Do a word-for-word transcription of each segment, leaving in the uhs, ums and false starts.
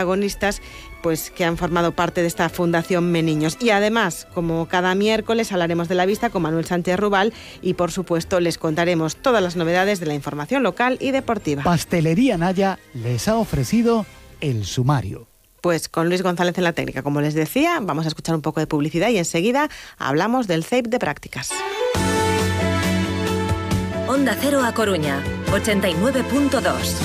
protagonistas pues que han formado parte de esta Fundación Meniños. Y además, como cada miércoles, hablaremos de la vista con Manuel Sánchez Rubal y, por supuesto, les contaremos todas las novedades de la información local y deportiva. Pastelería Naya les ha ofrecido el sumario. Pues con Luis González en la técnica, como les decía, vamos a escuchar un poco de publicidad y enseguida hablamos del C E I P de prácticas. Onda Cero A Coruña, ochenta y nueve punto dos.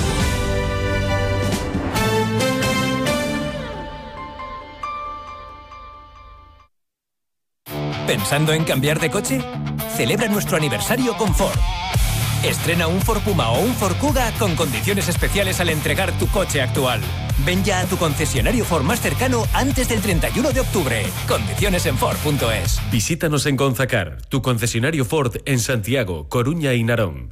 ¿Pensando en cambiar de coche? Celebra nuestro aniversario con Ford. Estrena un Ford Puma o un Ford Kuga con condiciones especiales al entregar tu coche actual. Ven ya a tu concesionario Ford más cercano antes del treinta y uno de octubre. Condiciones en Ford punto es. Visítanos en Gonzacar, tu concesionario Ford en Santiago, Coruña y Narón.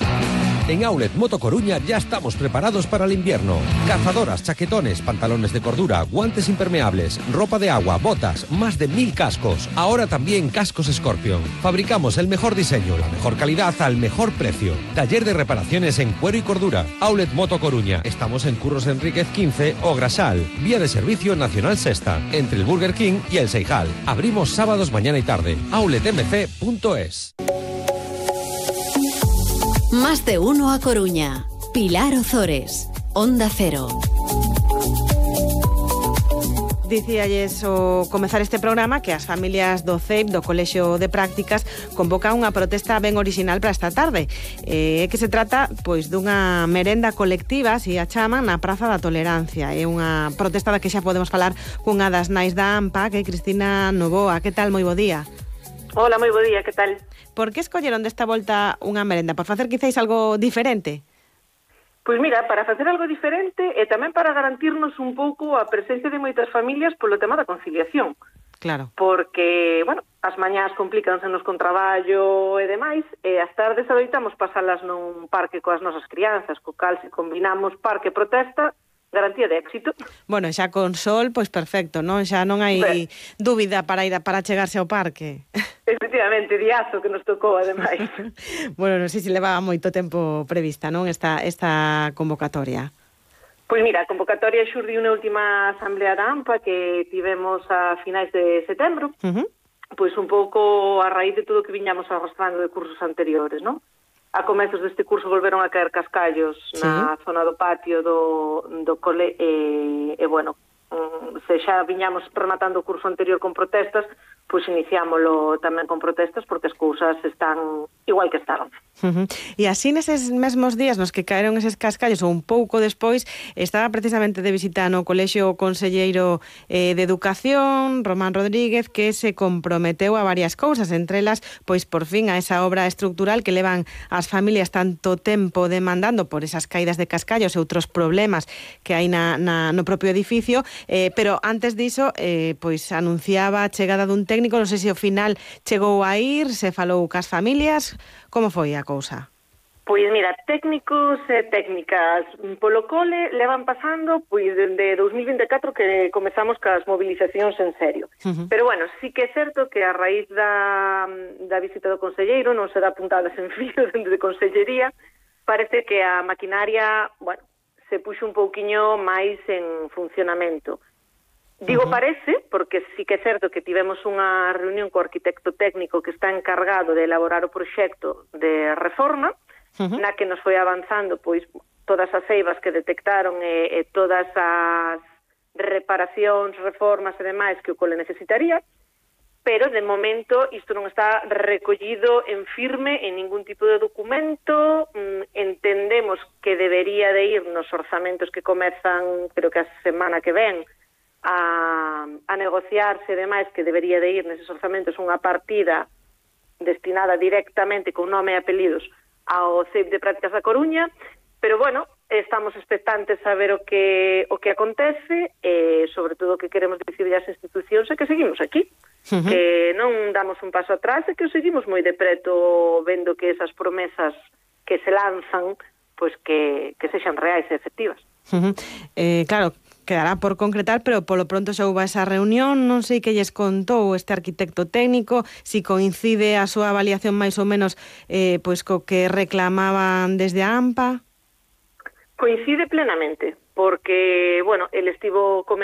En Outlet Moto Coruña ya estamos preparados para el invierno. Cazadoras, chaquetones, pantalones de cordura, guantes impermeables, ropa de agua, botas, más de mil cascos. Ahora también cascos Scorpion. Fabricamos el mejor diseño, la mejor calidad al mejor precio. Taller de reparaciones en cuero y cordura. Outlet Moto Coruña. Estamos en Curros Enríquez quince o Grasal. Vía de servicio Nacional Sexta, entre el Burger King y el Seijal. Abrimos sábados mañana y tarde. outlet m c punto es. Más de uno a Coruña. Pilar Ozores, Onda Cero. Dicíalles ao comezar este programa que as familias do C E I P, do Colexio de Prácticas, convocan unha protesta ben orixinal para esta tarde. É eh, que se trata pois dunha merenda colectiva, se a chaman, na Praza da Tolerancia. É unha protesta da que xa podemos falar cunha das nais da AMPA, que é Cristina Novoa. Que tal? Moi bo día. Hola, moi bo día, que tal? Por que escolleron desta volta unha merenda? Por facer quizáis algo diferente? Pois mira, para facer algo diferente e tamén para garantirnos un pouco a presencia de moitas familias polo tema da conciliación. Claro. Porque, bueno, as mañás complícansenos con traballo e demais, e as tardes adoitamos pasalas nun parque coas nosas crianzas, co cal se combinamos parque e protesta, garantía de éxito. Bueno, xa con sol, pois perfecto, non? Xa non hai ben dúbida para ir a, para chegarse ao parque. Efectivamente, diazo que nos tocou, ademais. Bueno, non sei se levaba moito tempo prevista, non, esta, esta convocatoria. Pois mira, a convocatoria xurdiu na última asamblea da AMPA que tivemos a finais de setembro, uh-huh. Pois un pouco a raíz de todo o que viñamos arrastrando de cursos anteriores, non? A comezos deste curso volveron a caer cascallos sí. na zona do patio do, do cole e, e bueno, se xa viñamos rematando o curso anterior con protestas, pois iniciámolo tamén con protestas porque as cousas están igual que estaban. Uh-huh. E así neses mesmos días nos que caeron eses cascallos ou un pouco despois, estaba precisamente de visita no Colexio o conselleiro eh, de Educación, Román Rodríguez, que se comprometeu a varias cousas, entre elas, pois por fin a esa obra estructural que levan as familias tanto tempo demandando por esas caídas de cascallos e outros problemas que hai na, na, no propio edificio, eh, pero antes diso, eh, pois anunciaba a chegada dun técnico, non sei se ao final chegou a ir, se falou cas familias, como foi a cousa? Pois mira, técnicos e técnicas polo cole levan pasando pois dende dous mil vinte e catro que comezamos cas movilizacións en serio. Uh-huh. Pero bueno, sí que é certo que a raíz da, da visita do conselleiro non se dá puntadas en filo dentro de consellería, parece que a maquinaria, bueno, se puxo un pouquiño máis en funcionamento. Digo uh-huh. parece, porque sí que é certo que tivemos unha reunión co arquitecto técnico que está encargado de elaborar o proxecto de reforma, uh-huh. na que nos foi avanzando pois todas as eivas que detectaron e, e todas as reparacións, reformas e demais que o cole necesitaría, pero de momento isto non está recollido en firme en ningún tipo de documento. Mm, entendemos que debería de ir nos orzamentos que comezan, creo que a semana que ven, a, a negociarse e demais, que debería de ir neses orzamentos unha partida destinada directamente con nome e apelidos ao C E I P de Prácticas da Coruña, pero bueno, estamos expectantes a ver o que o que acontece e sobre todo o que queremos dicir as institucións é que seguimos aquí, uh-huh. que non damos un paso atrás e que o seguimos moi de preto vendo que esas promesas que se lanzan pois que, que sexan reais e efectivas. Uh-huh. Eh, claro, quedará por concretar, pero polo pronto xa houve esa reunión, non sei que lles contou este arquitecto técnico, si coincide a súa avaliación máis ou menos eh, pois co que reclamaban desde a AMPA. Coincide plenamente, porque, bueno, el estivo